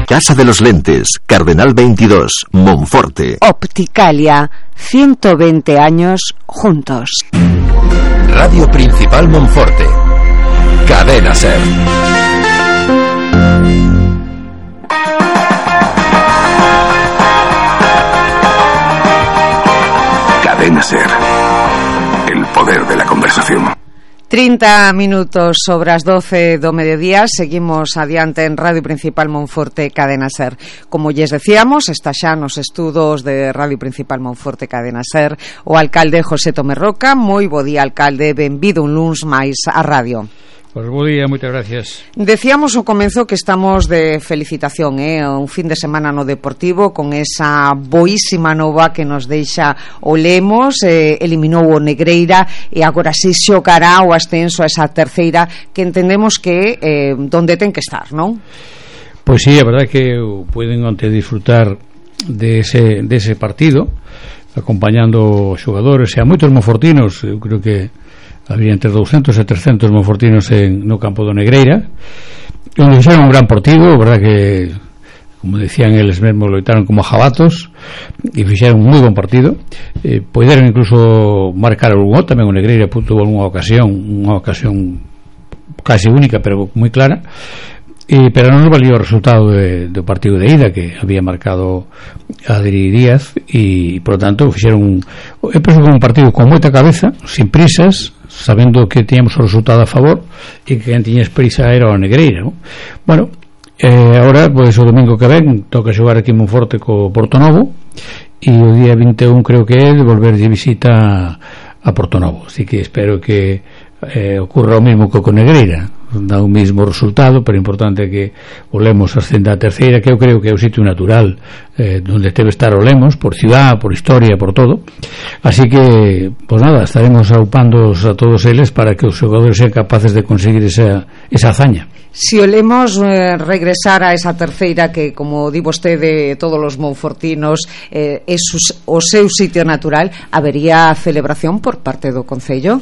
Casa de los Lentes, Cardenal 22, Monforte. Opticalia, 120 años juntos. Radio Principal Monforte. Cadena SER. Cadena SER. El poder de la conversación. 30 minutos sobre as 12 do mediodía. Seguimos adiante en Radio Principal Monforte, Cadena SER. Como lles decíamos, está xa nos estudos de Radio Principal Monforte, Cadena SER, o alcalde José Tomé Roca. Moi bo día, alcalde, benvido un luns máis á radio. Pois bo día, moitas gracias. Decíamos ao comezo que estamos de felicitación, un fin de semana no Deportivo con esa boísima nova que nos deixa o Lemos, eliminou o Negreira e agora si xogará o ascenso a esa terceira que entendemos que donde ten que estar, non? Pois sí, a verdade que poden onte disfrutar de ese partido acompañando xogadores e a moitos monfortinos. Eu creo que había entre 200 e 300 monfortinos no campo do Negreira, onde fixeron un gran partido. A verdade que, como decían eles mesmos, loitaron como jabatos e fixeron un moi bon partido. Poderon incluso marcar algún gol tamén. O Negreira tuvo unha ocasión casi única, pero moi clara. Pero non nos valió o resultado do partido de ida, que había marcado Adri Díaz, e por lo tanto fixeron un partido con moita cabeza, sin prisas, sabendo que tiñamos o resultado a favor e que quen tiña prisa era o Negreira, ¿no? Bueno, agora, pois o domingo que ven toca xogar aquí en Monforte co Portonovo, e o día 21 creo que é de volver de visita a Portonovo, así que espero que ocurra o mesmo que co Negreira. Dá o mesmo resultado, pero importante que o Lemos ascenda a terceira, que eu creo que é o sitio natural donde debe estar o Lemos, por ciudad, por historia, por todo. Así que, pues nada, estaremos aupando a todos eles para que os xogadores sean capaces de conseguir esa hazaña. Si o Lemos regresar a esa terceira que, como di vostede, todos os monfortinos é o seu sitio natural, habería celebración por parte do Concello?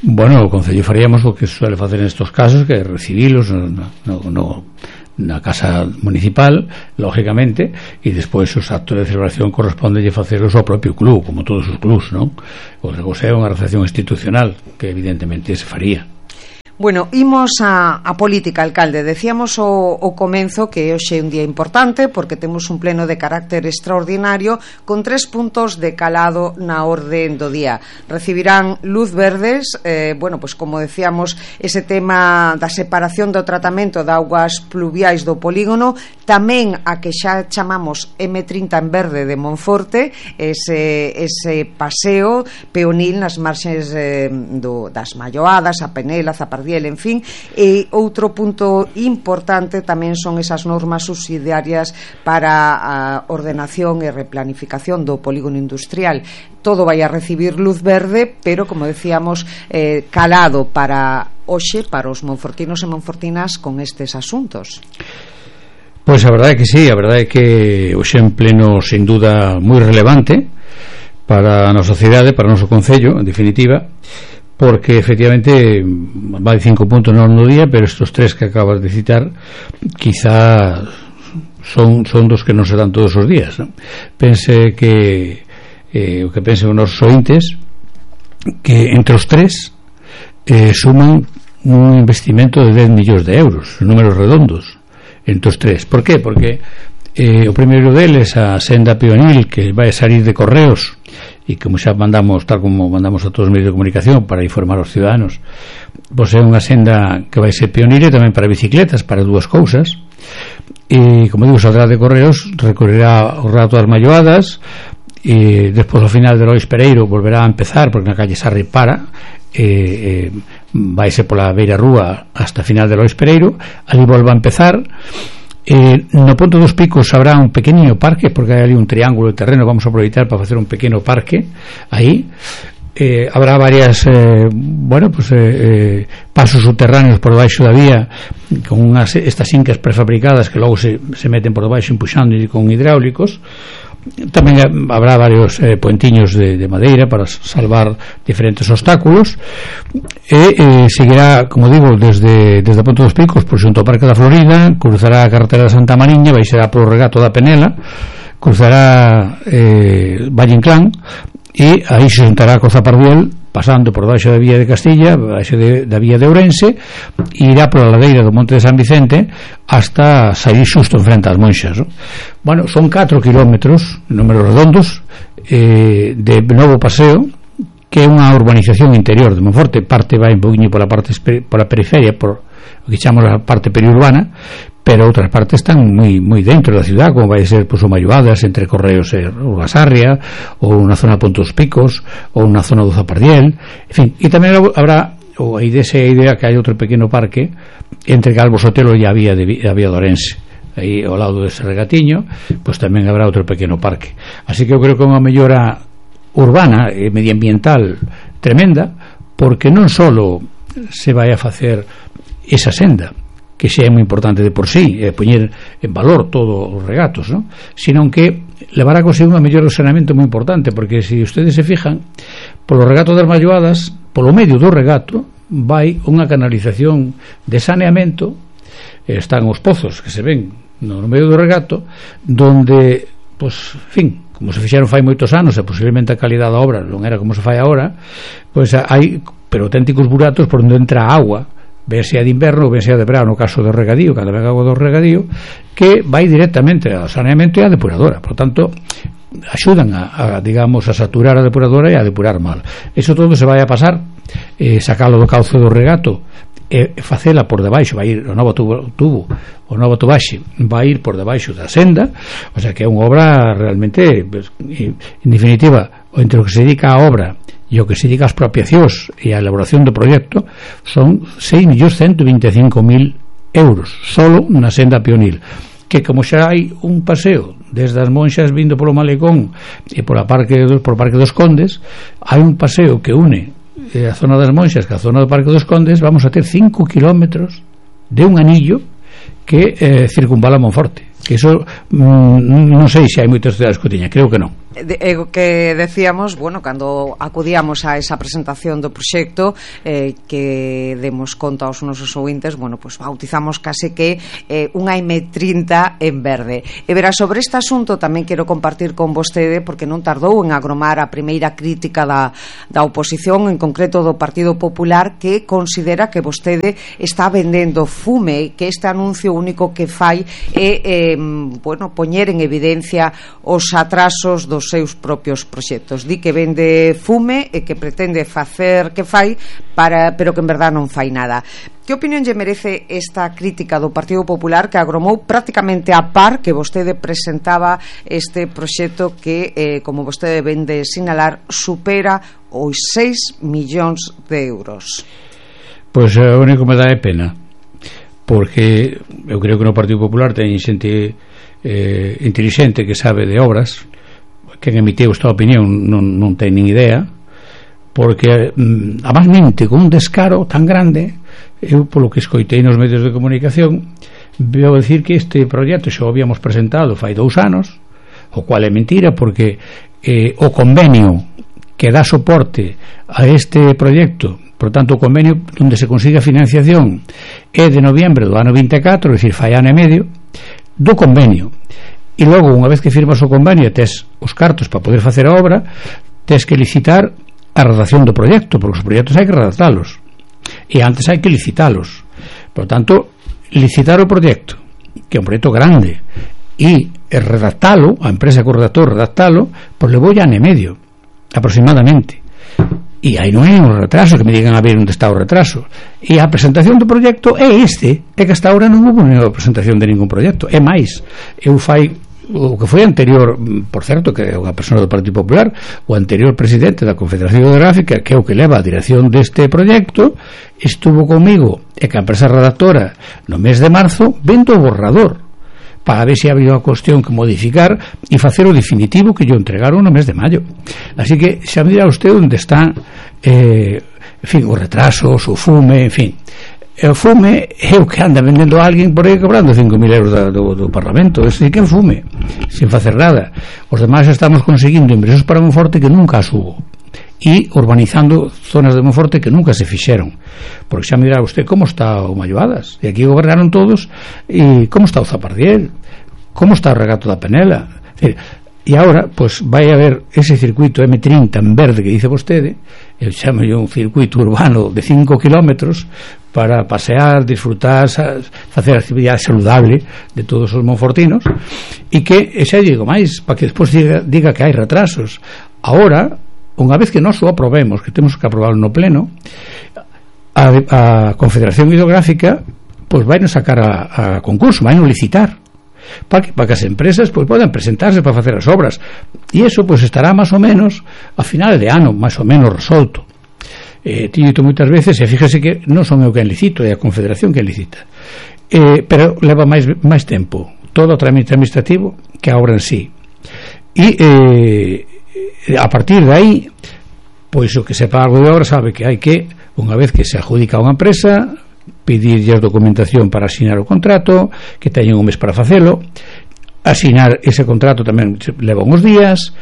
Bueno, o Concello faríamos o que suele facer nestos casos, que é recibilos na casa municipal, lógicamente, e despois os actos de celebración corresponde facelos ao propio club, como todos os clubs, non? Outra cosa é unha recepción institucional, que evidentemente se faría. Bueno, imos a política, alcalde. Decíamos o comenzo que hoxe é un día importante porque temos un pleno de carácter extraordinario con 3 puntos de calado na orde do día. Recibirán luz verdes, pues como decíamos, ese tema da separación do tratamento de augas pluviais do polígono, tamén a que xa chamamos M30 en verde de Monforte, ese paseo peonil nas marxes das Malloadas, a Penela, Zapardiel, en fin. E outro punto importante tamén son esas normas subsidiarias para a ordenación e replanificación do polígono industrial. Todo vai a recibir luz verde, pero, como decíamos, calado para hoxe, para os monfortinos e monfortinas con estes asuntos. Pois a verdade é que sí, a verdade é que hoxe en pleno, sin duda, moi relevante para a nosa cidade, para o noso concello, en definitiva, porque efectivamente vai 5 puntos no día, pero estos 3 que acabas de citar quizá son dos que non se dan todos os días, ¿no? Pense que o que pensen os nosos ointes, que entre os 3 suman un investimento de 10 millóns de euros, números redondos, entre os 3. Por qué? Porque o primeiro deles, a senda peonil que vai salir de Correos, e como xa mandamos, tal como mandamos a todos os medios de comunicación para informar aos ciudadanos, pois é unha senda que vai ser pionera tamén para bicicletas, para dúas cousas. E como digo, saldrá de Correos, recorrerá o rato das Malloadas, e despois ao final de Lois Pereiro volverá a empezar, porque na calle Sarri para, vaise pola beira rúa hasta final de Lois Pereiro, ali volva a empezar. No Ponto dos Picos habrá un pequeniño parque, porque hai ali un triángulo de terreno, vamos a aproveitar para facer un pequeno parque aí. Habrá varias pasos subterráneos por debaixo da vía con estas incas prefabricadas que logo se meten por debaixo empuxando con hidráulicos. tamén habrá varios puentiños de madeira para salvar diferentes obstáculos, e seguirá, como digo, desde a Ponte dos Picos por xunto ao Parque da Florida, cruzará a carretera de Santa Mariña, baixará polo regato da Penela, cruzará Valle Inclán, e aí se juntará co Zapardiel, pasando por baixo da vía de Castilla, baixo da vía de Ourense, e irá pola ladeira do Monte de San Vicente hasta sair xusto en frente ás Monxas, no? Bueno, son 4 kilómetros, números redondos, de novo paseo, que é unha urbanización interior de Monforte. Parte vai un poquinho pola periferia, por o que chamamos a parte periurbana, pero outras partes están moi dentro da ciudad, como vai ser o Malloadas, entre Correos e Urgasarria, ou unha zona de Ponte dos Picos, ou unha zona do Zapardiel, en fin. E tamén habrá, ou aí desa idea que hai outro pequeno parque entre Calvo Sotelo e a vía de Ourense, aí ao lado dese regatiño, pois tamén habrá outro pequeno parque. Así que eu creo que é unha mellora urbana e medioambiental tremenda, porque non só se vai a facer esa senda, que xa é moi importante de por sí, poñer en valor todos os regatos, ¿no? Sino que levará consigo unha mellor saneamento moi importante, porque se ustedes se fijan, polo regato das Malloadas, polo medio do regato vai unha canalización de saneamento, están os pozos que se ven no medio do regato, donde, pois, fin, como se fixeron fai moitos anos e posiblemente a calidade da obra non era como se fai agora, pois hai pero auténticos buratos por onde entra a agua, ben sea de inverno ou ben sea de verano, no caso do regadío, cando ven agua do regadío, que vai directamente ao saneamento e á depuradora. Por tanto, axudan digamos, a saturar a depuradora e a depurar mal. Eso todo se vai a pasar, sacalo do cauce do regato e facela por debaixo, vai ir o novo tubo, o novo tubaxe vai ir por debaixo da senda, o sea que é unha obra realmente, en definitiva, entre o que se dedica á obra e o que se dedica ás expropiacións e á elaboración do proxecto, son 6.125.000 euros solo na senda Pionil, que como xa hai un paseo desde as Monxas vindo polo Malecón e por Parque dos Condes, hai un paseo que une a zona das Monxas que a zona do Parque dos Condes. Vamos a ter 5 kilómetros de un anillo que circunvala Monforte, que eso non sei se hai moitas cidades que tiña, creo que non. Que decíamos, bueno, cando acudíamos a esa presentación do proxecto, que demos conta aos nosos ouvintes, bueno, pues bautizamos case que unha M30 en verde. E verá, sobre este asunto tamén quero compartir con vostede, porque non tardou en agromar a primeira crítica da oposición, en concreto do Partido Popular, que considera que vostede está vendendo fume, que este anuncio único que fai é bueno, poñer en evidencia os atrasos dos seus propios proxectos. Di que vende fume e que pretende facer que fai, pero que en verdad non fai nada. Que opinión lle merece esta crítica do Partido Popular, que agromou prácticamente a par que vostede presentaba este proxecto que, como vostede vende sinalar, supera os 6 millóns de euros? Pois o único que me dá é pena, porque eu creo que no Partido Popular ten xente intelixente que sabe de obras. Quen emitiu esta opinión non ten nin idea, porque además mente con un descaro tan grande. Eu, polo que escoitei nos medios de comunicación, veo decir que este proxecto xa o habíamos presentado fai 2 anos, o cual é mentira, porque o convenio que dá soporte a este proxecto, por tanto o convenio onde se consiga financiación, é de noviembre do ano 24, é dicir, fai ano e medio do convenio. E logo, unha vez que firmas o convenio, tes os cartos para poder facer a obra, tes que licitar a redacción do proxecto, porque os proxectos hai que redactalos e antes hai que licitalos. Por tanto, licitar o proxecto, que é un proxecto grande, e redactalo, a empresa que o redactou redactalo, pois levou ya ano e medio aproximadamente, e aí non hai un retraso, que me digan a ver onde está o retraso. E a presentación do proxecto é que hasta ahora non houve unha presentación de ningún proxecto. É máis, eu fai o que foi anterior, por certo, que é unha persona do Partido Popular, o anterior presidente da Confederación Hidrográfica, que é o que leva a dirección deste proxecto, estuvo comigo e que a empresa redactora no mes de marzo vendo o borrador para ver se había unha cuestión que modificar e facer o definitivo, que yo entregaron no mes de maio. Así que xa me dirá usted onde están en fin, os retrasos, o fume, en fin. E o fume é o que anda vendendo a alguén por aí cobrando 5.000 euros do Parlamento. Ese que é o fume, sin facer nada. Os demais estamos conseguindo ingresos para Monforte que nunca as hubo, e urbanizando zonas de Monforte que nunca se fixeron. Porque xa me dirá usted como está o Malloadas, e aquí gobernaron todos, e como está o Zapardiel, como está o Regato da Penela. E agora, pois, vai haber ese circuito M30 en verde que dice vostede, eu chamo un circuito urbano de 5 kilómetros para pasear, disfrutar, facer actividade saludable de todos os monfortinos, e que, xa digo máis, para que despois diga que hai retrasos. Agora, unha vez que nós o aprobemos, que temos que aprobarlo no pleno, a Confederación Hidrográfica pois vai nos sacar a concurso, vai nos licitar para que as empresas pois podan presentarse para facer as obras, e eso pois estará máis ou menos a final de ano, máis ou menos resolto. Tío moitas veces, e fíjese que non son eu quen licito, é a Confederación que licita, pero leva máis tempo todo o trámite administrativo que a obra en sí, e a partir de aí pois o que sepa algo de obra sabe que hai que, unha vez que se adjudica a unha empresa, pedirlle a documentación para asinar o contrato, que teñen un mes para facelo. Asinar ese contrato tamén leva uns días,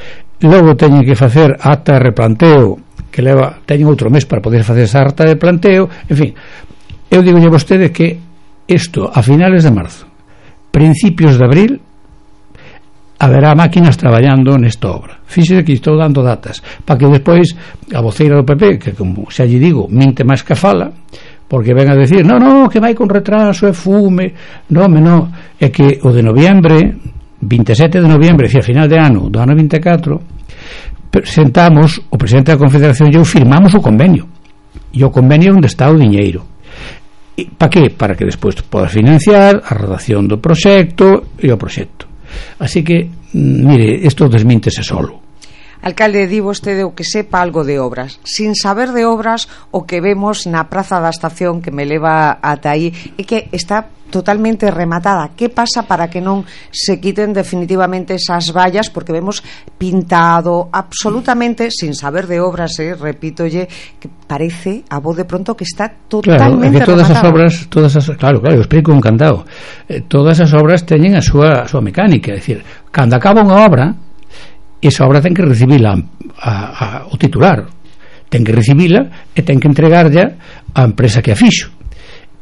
logo teñen que facer acta de replanteo, que teñen outro mes para poder facer esa acta de planteo. En fin, eu digo a vostede que isto a finales de marzo, principios de abril, haberá máquinas traballando nesta obra. Fíxese que estou dando datas para que despois a voceira do PP, que como xa lle digo, minte máis que fala, porque ven a decir, no, que vai con retraso, é fume. Non, é que o de noviembre, 27 de noviembre, a final de ano, do ano 24, presentamos, o presidente da Confederación e eu firmamos o convenio, e o convenio onde está o diñeiro. Para que? Para que despois poda financiar a redacción do proxecto e o proxecto. Así que, mire, isto desmíntese solo. Alcalde, di vostede o que sepa algo de obras. Sin saber de obras, o que vemos na Praza da Estación, que me leva ata aí, é que está totalmente rematada. Que pasa para que non se quiten definitivamente esas vallas? Porque vemos pintado absolutamente, sin saber de obras, repítolle, que parece a voz de pronto que está totalmente rematada. Claro, que todas rematada. as obras, claro, eu explico encantado. Todas as obras teñen a súa mecánica, é dicir, cando acaba unha obra, esa obra ten que recibila o titular, ten que recibila e ten que entregarlla á empresa que a fixo,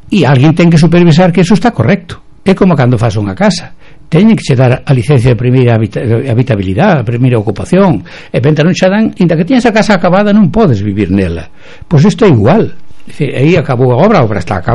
e alguén ten que supervisar que eso está correcto. É como cando faz unha casa, teñen que che dar a licencia de primeira habitabilidade, a primeira ocupación, e venta non xa dan, inda que tiñas a casa acabada non podes vivir nela. Pois isto é igual. Aí acabou a obra está acabada.